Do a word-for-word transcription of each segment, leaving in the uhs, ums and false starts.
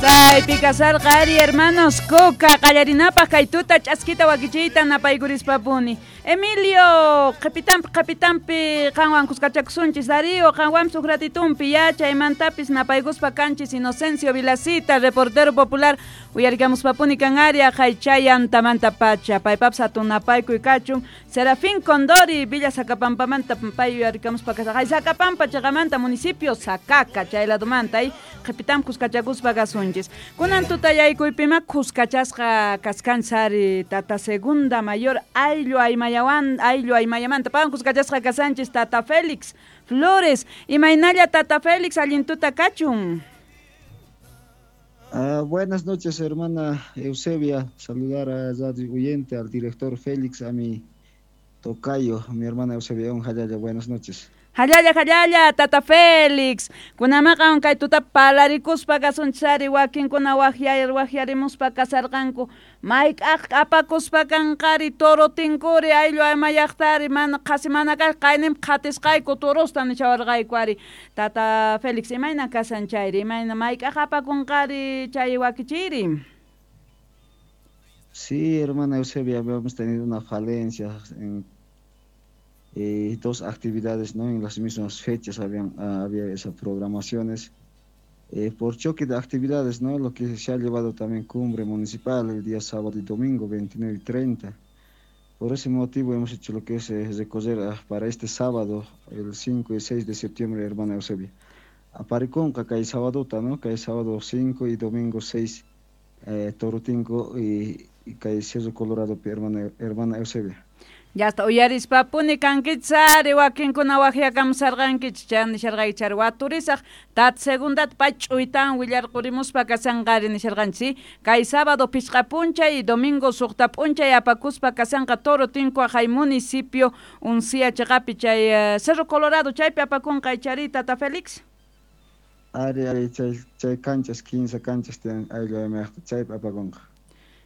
Chaypi kasarqa ari hermanos Coca qallarinapaq kay tuta ch'askita wakichiyta napaykurispa-puni. Emilio, qhipitanpi qhipitanpi qanwan kuskachakusunchis Darío, qanwanpis huk ratitunpi ya chaymantapis napaykuspa kanchis Inocencio Vilacita, reportero popular, uyarikamuspapuni kan ari aqhay antamanta pacha, paypapis hatun napaykuy kachun, Serafín Condori, Villa Sacapampamanta pay uyarikamuspa kasaq, hay Sacapampa chaqamanta municipio Sacaca, chay ladumanta, ay qhipitanpi kuskachakuspa kasunchis. Kunan tutayaykuypima kuskachasqa kaskanchis tata segunda mayor ayllu aymayawan ayllu aymayamanta pawan kuskachasqa kasanchis tata Félix Flores, imaynalla tata Félix allin tuta kachun. Uh, buenas noches, hermana Eusebia, saludar a Radio Oyente, al director Félix, a mi tocayo, mi hermana Eusebia, un jallalla, buenas noches. Jallalla, jallalla, tata Félix. Kunamaqa kay tuta palarikuspa kasunchis ari wakinkuna waqyar waqyarimuspa kasarqanku. Mayk'aq apakuspa kanqari toro tinkuri ayllu aymayaqtari mana qhasi mana kaq qayninpi qhatisqayku torosta nishawarqayku ari. Tata Félix, imayna kasan chayri? Imayna mayk'aq apakunqari chay wakichiyri? Sí, hermana Eusebia, habíamos tenido una falencia en Eh, dos actividades, ¿no? En las mismas fechas habían, uh, había esas programaciones. Eh, por choque de actividades, ¿no? Lo que se ha llevado también cumbre municipal el día sábado y domingo, veintinueve y treinta. Por ese motivo hemos hecho lo que es eh, recorrer uh, para este sábado, el cinco y seis de septiembre, hermana Eusebia. A Pariconca, que hay sábado, ¿no? Que hay sábado cinco y domingo seis, eh, Torotinco y, y que hay Cerro Colorado, hermana, hermana Eusebia. Ya está, uyarispapuni kankichis ari wakinkuna waqyakamusarqankichis chay nisharqayki chari waturisaq tata segundata pay ch'uytawan willarqurimuspa kasanqari nisharqanchis kay sábado pichqa p'unchay y domingo suqta p'unchay apakuspa kasanqa Toro Tinku aqhay municipio Uncía chaqapi chay uh, Cerro Colorado chaypi apakunqa chari tata Félix. Ari ari chay chay canchas quince canchas tiyan ayllu aymayaqta chaypi apakunqa.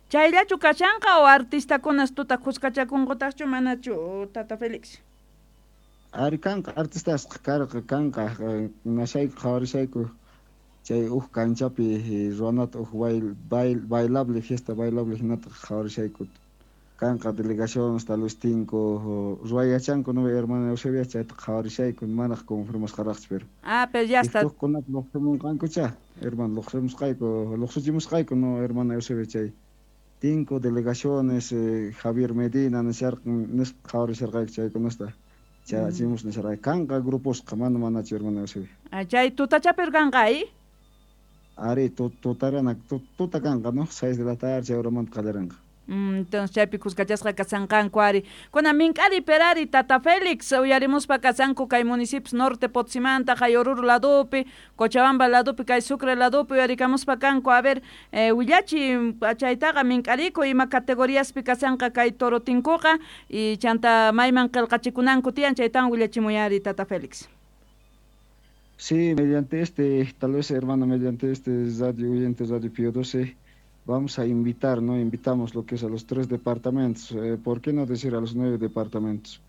Chayllachu kashanqa o artistakunas tuta kuskachakunqutaqchu manachu tata Félix? Ari kanqa artistasqa karqa kanqa nashayku qhawarishayku chay huk kanchapi ruwanata huk bail, bail, bailable fiesta bailable hinata qhawarishayku kanqa delegaciones tal vez tinko ruwayachanku no hermana Eusebia chayta qhawarishayku manaq confirmasqaraqchu pero ah pero ya está hukkunata luqsimunqankucha hermano luqsimusqayku luqsichimusqayku no hermana Eusebia chay Cinco delegaciones, eh, Javier Medina, nisqa qhawarisharqayku chaykunasta chachimus nisharqayku kanqa gruposqa mana manachu hermana Eusebia. Chay tutachapi kanqa ay? Ari tutarana tuta kanqa no seis de la tarde chay horamanta qallarinqa. Mm, entonces chaypi kuskachasqa kasanqanku ari. Kuna mink'ari perari tata Félix uyarimuspa kasanku kay municipios norte Potosímanta kay Oruro ladupi, Cochabamba ladupi, kay Sucre ladupi uyarikamuspa kanku. A ver, eh, willachi chaytaqa mink'ariku ima categoriaspi kasanqa kay toro tinkuqa y chanta mayman qillqachikunanku tiyan chaytan willachimuyari tata Félix. Sí, mediante este, tal vez hermano, mediante este radio oyente Radio Pío doce vamos a invitar, ¿no? Invitamos lo que es a los tres departamentos, eh, ¿por qué no decir a los nueve departamentos?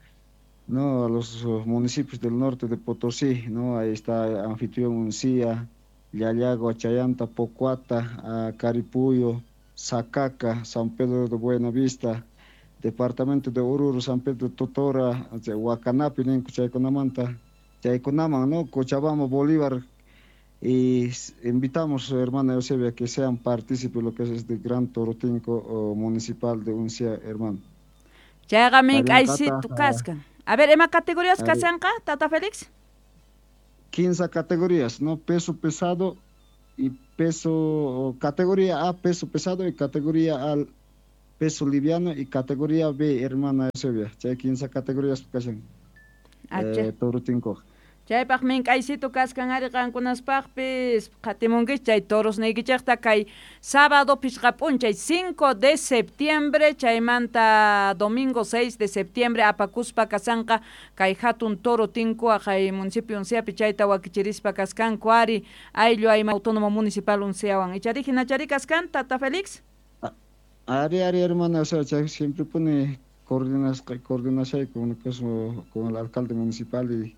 No, a los municipios del norte de Potosí, ¿no? Ahí está Anfitrión Uncía, Llallagua, Chayanta, Pocuata, Caripuyo, Sacaca, San Pedro de Buenavista, departamento de Oruro, San Pedro de Totora, Huacanapi, Chayconamanta, Chayconaman, ¿no? Cochabamba, Bolívar. Y invitamos, hermana Eusebia, que sean partícipes de lo que es este gran torotinco municipal de Uncía, hermano. Chayqa mink'aysitu kaskan. A ver, ¿ima categorías kasanqa, tata Félix? quince categorías, ¿no? Peso pesado y peso, categoría A, peso pesado y categoría A, peso liviano y categoría B, hermana Eusebia. Chay quince categorías kasan. Eh, torotinco. Chaypaq mink'aysitu kaskan ari qankunaspaqpis qhatimunkichis chay toros niykichikta kay sábado pichqa p'unchay cinco de septiembre chaymanta domingo seis de septiembre apakuspa kasanqa kay hatun toro tinku aqhay municipio Unciapi chayta wakichirispa kaskanku ari ayllu ayma autónomo municipal Unciawan ichari hinachari kaskan tata Félix? Ari ari hermana, o sea, chay siempre pone coordinas coordinación con, con el alcalde municipal y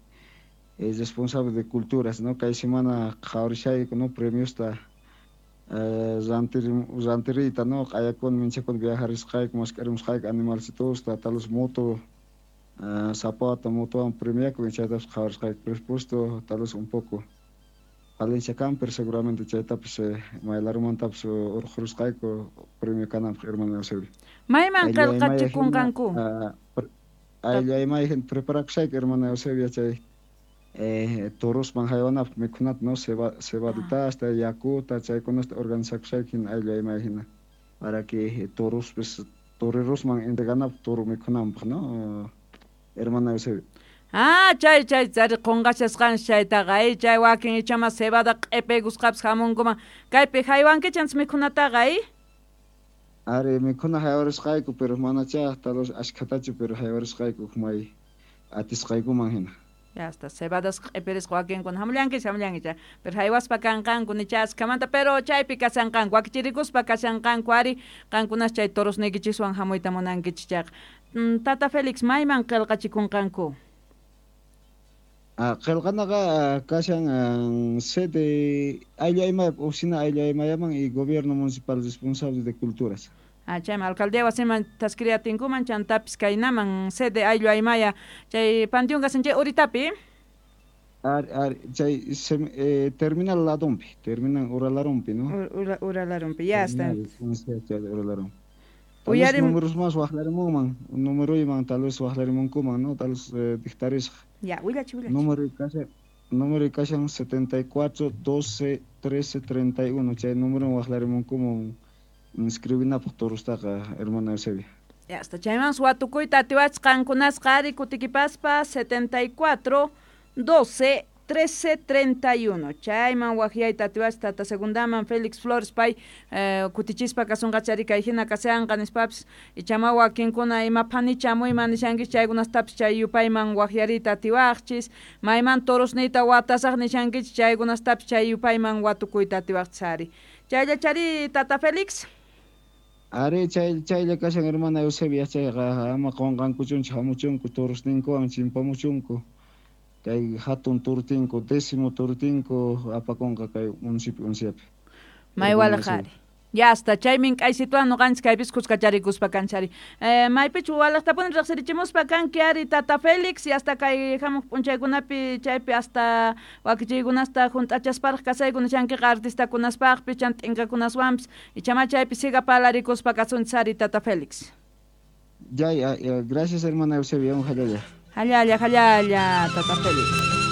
el responsable de culturas, ¿no? Kay semana qhawarishayku, ¿no? Premiosta Rantir rantirita no q'ayakun minchakun viajarisqayku mask'arimusqayku animalcitosta tal vez moto zapata motowan premiakun chaytapas qhawarisqayku presupuesto tal vez un poco Palencia camper seguramente chaytapas maylarumantapis urqhurusqayku premio kananpaq hermano Eusebio. Mayman qillqachikunqanku? Ayllu hina preparakushayku hermano Eusebio chay eh, torosman haywanapaq mikhunata no ceba cebaditasta yakuta chaykunasta organizakushayku hina ayllu aymay hina para que torospis torerosman entreganapaq toro mikhunanpaq no hermano Eusebio. Ah, chay chay chari qunqashasqanchis chaytaqa ay chay wakin ichama cebada q'ipaykusqapis hamunkuman kaypi haywankichis mikhunataqa ay. Ari mikhuna haywarisqayku pero manachá tal vez ashkhatachu pero haywarisqayku may atisqaykuman hina. Ya está, cebadas q'ipirisqa wakinkuna hamullankichis hamullankichis pero haywaspa kanqanku nicha ashkhamanta pero chaypi kashanqanku wakichirikuspa kashanqanku ari qankunas chay torosniykichiswan hamuyta munankichis chayqa. Tata Félix mayman qillqachikunqanku? Ah, qillqanaqa kashan sede ayllu aymaya oficina ayllu aymayaman y gobierno municipal responsable de culturas. Ah, chayman alcaldía wasiman taskiriatinkuman chantapis kaynaman sede ayllu aymaya chay panteón kasan chay uritapi. Ari ari chay eh, terminal ladonpi, terminal uralarunpi, ¿no? Ura, uralarunpi, ya está. Uralarunpi. Tal vez números más waqlarimunman, número tal vez waqlarimunkuman, ¿no? Tal vez eh, dictarisqa. Ya, willachi, willachi. Número kashan, número kashan setenta y cuatro, doce, trece, treinta y uno, chay número waqlarimunkuman inscribinapaq torostaqa, hermana Eusebia. Ya está, chayman watukuyta atiwachis qankunasqa ari kutikipaspa setenta y cuatro, doce, trece, treinta y uno. Chayman waqyayta atiwachis tata segundaman Félix Flores pay eh, kutichispa kasunqachari kay hina kashanqa nispapis ichama wakinkuna ima phanicha muyman nishankis chaykunastapis chay yupayman waqyariyta atiwaqchis mayman torosniyta watasaq nishankichis chaykunastapis chay yupayman watukuyta atiwaqchis ari. Chayllachari tata Félix. Ari chay chaylla kashan hermana Eusebia chayqa ama qunqankuchunchik hamuchunku torosninkuwan chimpamuchunku. Kay hatun turtinku décimo turtinku apakunqa kay municipio unciapi. Maywalaq ari. Ya está, chaymin k'aysituwan nuqanchis kaypis kuskacharikuspa kanchari. Eh, maypichu walaqtapuni riqsirichimuspa kanki ari tata Félix y hasta kay hamuq p'unchaykunapi chaypi hasta wakichiykunasta hunt'achasparaq kasayku nishankiqa artistakunaspaqpis chan t'inkakunaswanpis ichama chaypi siga palarikuspa kasunchis ari tata Félix. Ya, ya, ya, gracias hermana Eusebia, un jalalla. Jalalla, jalalla, tata Félix.